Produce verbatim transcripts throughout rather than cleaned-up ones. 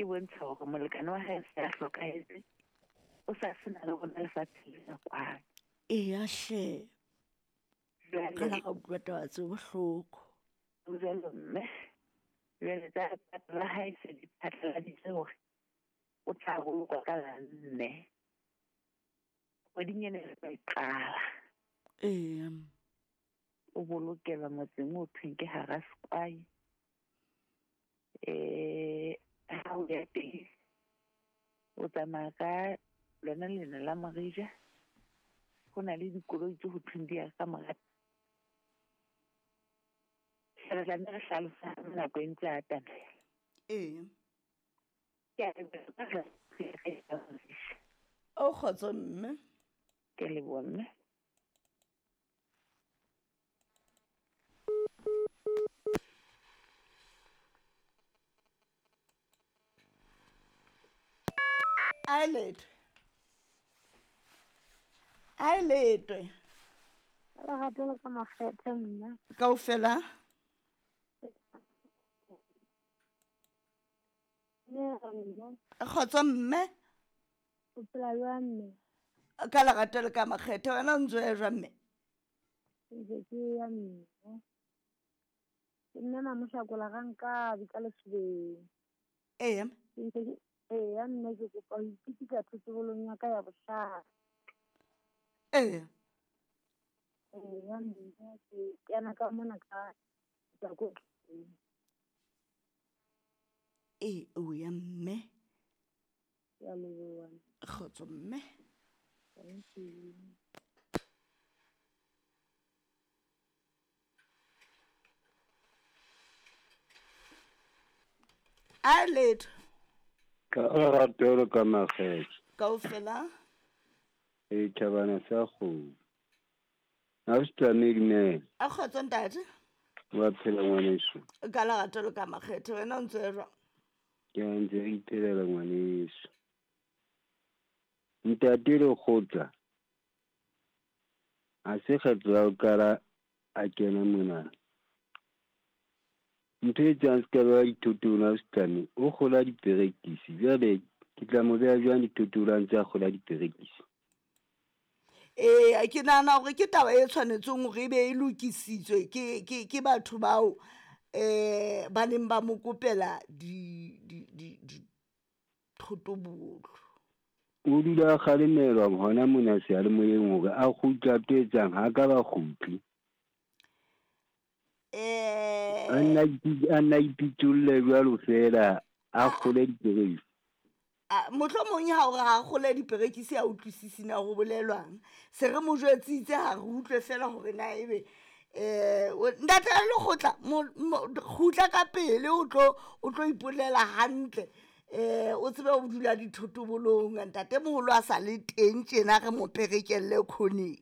Ke bontsha hore molekane wa hae se a hlokahetse. O sa sena le rona lefatsheng lena kwano. Eya hle. Jwale Ka la ka utlwa taba tse bohloko. Jwalo mme. Jwale tsa lepato la hae se di phatlaladitse hore o tla bolokwa ka la nne. Kgweding ena re tla e qala. Eya. O bolokelwa motseng o thweng ke hara Sekwai. Eh, ha o ya teng, o tsamaya ka lona lena la Morija. Ho na le dikoloi tse ho thweng di ya ka mora. Re tla nne re hlalosa nako e ntse a atamela. Ee. Ke a leboha. O kgotso mme. Ke leboha mme. A letwe. A letwe. Lerato le ka makgethe mme. Kaofela? Kgotso mme. O phela jwang mme? Ka lerato le ka makgethe, wena o ntso ya jwang mme? Ntse ke ya mme. Ke nna Mamohlakola ga nkabe ka Lesubeng. Eya. Ke ntse ke eya mme, ke kopa ho ipitisa thothobolong ya ka ya bohlano. Eya. Eya mme, ke kena ka mona ka tswa ko tlung. E, o ya mme. Ke a leboha. Kgotso mme. Thank you. A letho. Ka lerato le ka makgethe. Kaofela? E thabana sa kgomo. Ha o se tsamaye dumela. A kgotso ntate. Wa phela ngwaneso. Ka lerato le ka makgethe, wena o ntse o jwang? Ke ntse re iphelela ngwaneso. Ntate Lekgotla ha se kgetlo ya ho qala a kena mona. Ntho e etsang se ka beha dithotong ha o se tlame, o kgola diperekisi. Jwale ke tla mo beha jwang dithotong ha ntse a kgola diperekisi? Ee, ke nahana hore ke taba e tshwanetseng hore ebe e lokisitswe ke, ke, ke batho bao eh ba neng ba mo kopela di, di, di, dithotobolo. O dula a kgalemelwa hona mona seyalemoyeng hore a kgutle a tlo etsang, ha ka ba kgutle. Eh, A nna ipi-, a nna ipitolle jwalo feela, a kgole diperekisi. A, mohlomong ha o re ha kgole diperekisi a utlwisisi na ho bolelwang. Se re mo jwetsitse ha re utlwe feela hore na ebe, eh, o-, ntate Lekgotla, mo-, mo-, kgutla ka pele o tlo, o tlo ipolela hantle. Eh, o tsebe ho dula dithotobolong, ntate moholo a sa le teng tjena re mo perekelle khoneng.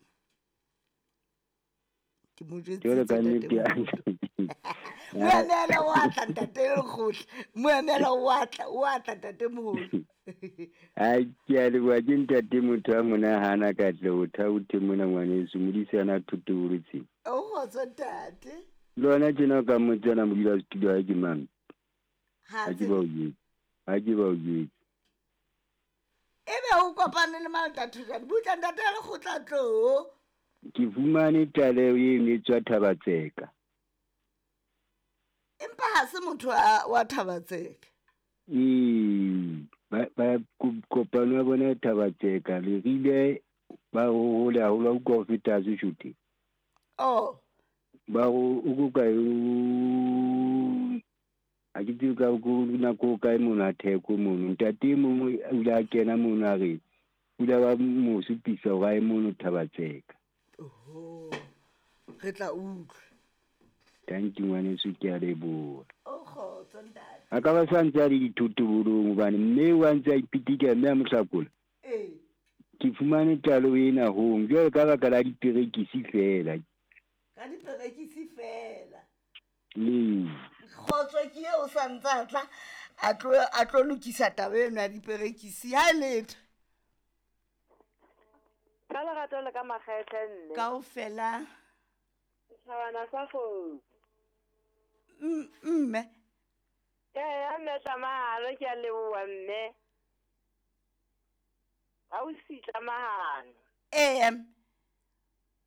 Ke mo jwetsitse Jwalo ka ntate nnete ya moholo. Moemela o a tla ntate Lekgotla, moemela o a tla, o a tla ntate moholo. Ai, ke a leboha, ke ntate motho a monahana ka tle ho thaothe mona ngwaneso, modisana thotobolo tse. O kgotso ntate. Le wena tjena o ka mmotsana modulasetulo ha ke mang? Ha Ha ke tsebe. ba o jwetse. Ha ke ba o jwetse. Ebe o kopane le mang ntate Thojane? Butla ntate Lekgotla tlo. Ke fumane tlaleho eno e tswa Thabatseka. Empa ha se motho wa, wa Thabatseka. Ee, ba, ba ko-, kopano ya bona e Thabatseka, le rile ba hole haholo ha utlwa ho feta Sesotho. Oh. Ba ho, o ko kae, o, ha ke tsebe ka ko nako kae mono a theko mono. Ntate e mong o ile a kena mono a re, o ile ba mo supisa hore a ye mono Thabatseka. Oho, re tla utlwa. Thank you ngwaneso, ke a leboha. O kgotso ntate. A ka ba sa ntse a le dithotobolong hobane mme wa ntse a ipitika mme a mo hlakola. Ee. Ke fumane tlaleho ena hong jwale ka baka la diperekisi feela. Ka diperekisi feela. Ee. Kgotso ke eo sa ntse a tla, a tlo, a tlo lokisa taba eno ya diperekisi. Ha e letho. Ka lerato le ka makgethe nne. Kaofela. Setjhabana sa kgomo. M-, mme. Ee, mme Tlamahano, ke a leboha mme. Ha o si Tlamahano. Ee.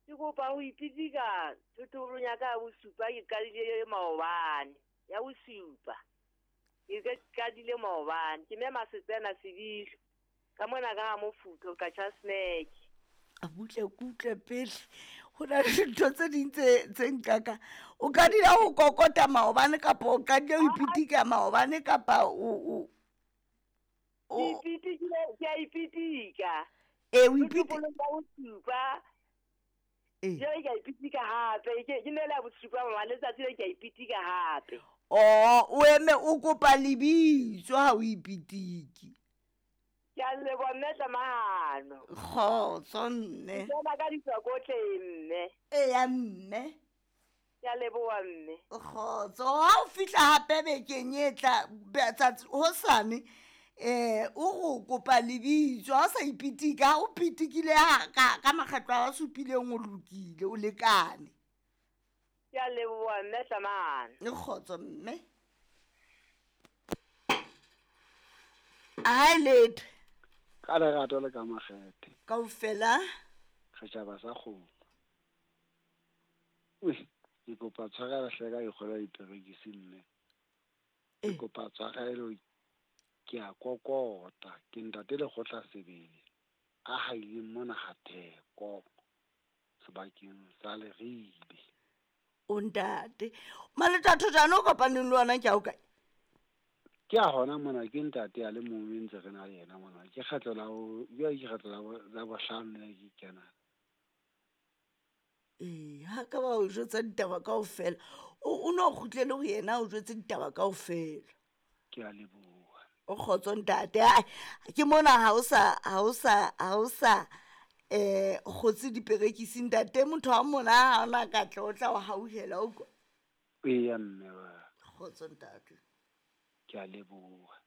Ke kopa ho ipitika thotholong ya ka ya bosupa ke qadile maobane. Ya bosupa. Ke ke qadile maobane. Ke mme Masetsena Sebilo. Ka mona ka ha Mofutho ka tjha snack. A butle kutle pele. Ho na le dintho tse ding tse tse nkaka. O qadile ho kokota maobane kapa o qadile ho ipitika maobane kapa o o o ipitikile, ke a ipitika. E o ipitika. Thotholong ya bosupa. Ee. Jwale ke a ipitika hape. Ke ke ne le ya bosupa mama, letsatsi le ke a ipitika hape. Oh, o eme o kopa lebitso ha o ipitiki. Ke a leboha mme Tlamahano. Kgotso mme. Ke tsena ka ditswakotleng mme. Eya mme. Ke a leboha mme. Kgotso, ha o fihla hape bekeng e tla tsatsi hosane eh o go kopa lebitso ha o sa ipitika, ha o pitikile ha ka ka makgetlo a supileng o lokile o lekane. Ke a leboha mme Tlamahano. Kgotso mme. Ai letho. Ka lerato le ka makgethe. Kaofela. Setjhaba sa kgomo. Ui, ke kopa tshwarelo hle ka dikgolo diperekisi mme. Ke kopa tshwarelo, ke a kokota, ke ntate Lekgotla Sebele a haileng mona ha Theko sebakeng sa Leribe. O ntate, Maleta Thojane o kopaneng le wona ke a o kae? Ke a hona mona, ke ntate a le mong ntse re na le yena mona. Ke kgetlo la ho, jwale ke kgetlo la bo, la bohlano le ke kena. Ee, ha ka ba o jwetsa ditaba kaofela. O, o no kgutlele ho yena o jwetse ditaba kaofela. Ke a leboha. O kgotso ntate. Ai, ke mona ha o sa, ha o sa, ha o sa eh kgotse diperekisi ntate, motho wa mona ha ona ka tla o tla o hauhela o kwa. Eya mme wa. Kgotso ntate. Ke a leboha.